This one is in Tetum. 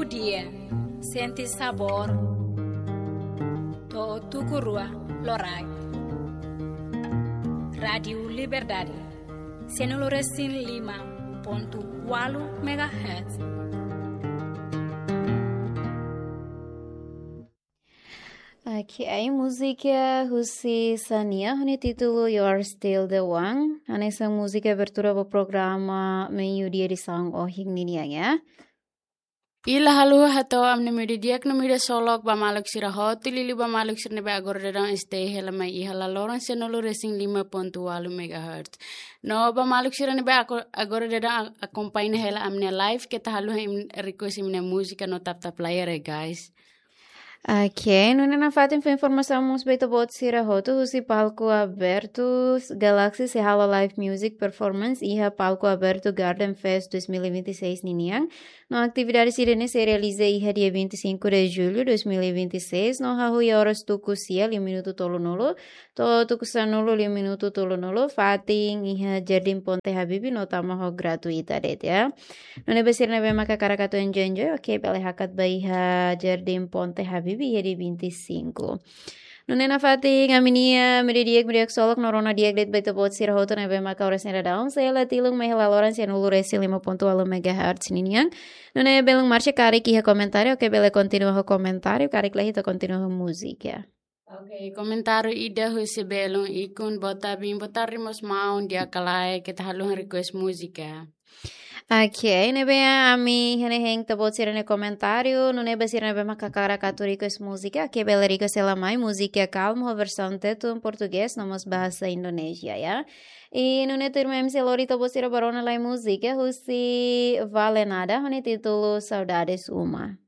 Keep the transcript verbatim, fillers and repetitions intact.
Dia, sente sabór, to'o tuku rua loraik. Rádiu Liberdade, sanulu-resin-lima pontu ualu megahertz. Ok, múzika husi Xania ho nia títulu You Are Still the One. Hanesan múzika abertura ba programa Meiudia edisaun ohin ninian, ya. I la haluha hato'o ami-nia meiudia di'ak no meiudia ksolok ba maluk sira hotu, liuliu ba maluk sira ne'ebé agora daudaun stay hela mai iha laloran sanulu-resin-lima pontu ualu megahertz. No ba maluk sira ne'ebé ago-, agora daudaun a-, akompaña hela ami-nia live, keta haluha imi request imi-nia múzika no tap tap layar, ya, guys. Ok, nune'e nafatin fó informasaun mós ba ita-boot sira hotu husi palku abertu Galaxy sei halo live music performance iha palku abertu Garden Fest dois mil e vinte e seis ninian. No atividade sira-ne'e sei realiza iha dia vinte e cinco de julho dois mil e vinte e seis, no hahú iha oras tuku sia liu minutu tolunulu, to'o tuku sanulu liu minutu tolunulu, fatin iha Jardim Ponte Habibie no tama ho gratuita de'it, ya. Nune'e ba sira ne'ebé maka hakarak atu enjoy enjoy, ok, bele hakat ba iha Jardim Ponte Habibie iha dia vinte e cinco. Nune'e nafatin ami-nia meiudia di'ak, meiudia ksolok no rona di'ak de'it ba ita-boot sira hotu ne'ebé maka oras ne'e daudaun sei hela tilun mai iha laloran sanulu-resin-lima pontu ualu megahertz ninian. Nune'e belun Marcia, karik iha komentáriu, ok, bele kontinua ho komentáriu, karik la iha ita kontinua ho múzika. Ok, komentáriu ida husi belun Ikun: Boa tarde, boa tarde, meus maun, di'ak ka lae, keta haluha request múzika. Ok, ne'ebé ami hein ita-boot sira-nia komentáriu, nune'e ba sira ne'ebé maka hakarak atu request múzika, ok, bele request hela mai múzika kalmu ho versaun Tetun, Portugés no mós bahasa Indonézia, ya. I nune'e tuirmai ami sei lori ita-boot sira ba rona lai múzika husi Vale Nada ho nia títulu Saudades Uma.